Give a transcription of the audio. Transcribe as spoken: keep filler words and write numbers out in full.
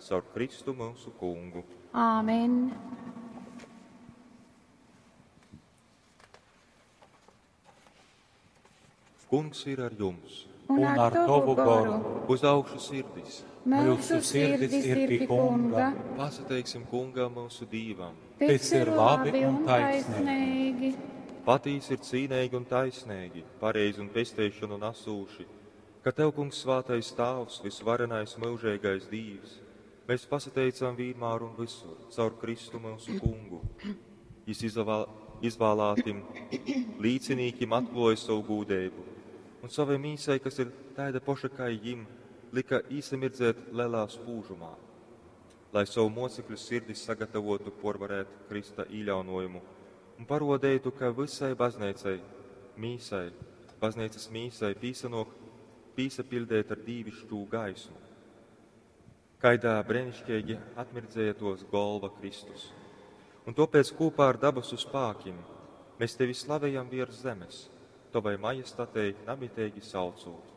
Caur Kristu mūsu kungu. Āmen! Kungs ir ar jums. Un ar tovu goru. Uz augšu sirdis. Mūsu sirdis ir pie kunga. Pasateiksim kungam mūsu dīvam. Tas ir labi un taisnīgi. Patīs ir cīnīgi un taisnīgi, pareizi un pesteišanu nesūši, ka tev, kungs, svātais tāvs, visvarenais mūžīgais dīvs, mēs pasateicam vienmēr un visur, caur Kristu mūsu kungu. Jis izvēl, izvēlātim līdzinīkim atklāja savu gūdību, un savai mīsai, kas ir tāda poša kā jim, lika īsamirdzēt lielā spūžumā, lai savu mocekļu sirdi sagatavotu porvarēt Krista īļaunojumu un parodētu, ka visai baznīcai, mīsai, baznīcas mīsai pīsanok, pīsapildēt ar dīvišķū gaismu. Kaidā brēnišķīgi atmirdzēja tos golva Kristus. Un topēc kopā ar dabasu spākim mēs tevi slavējam virs zemes, tavai majestatei namitīgi saucot.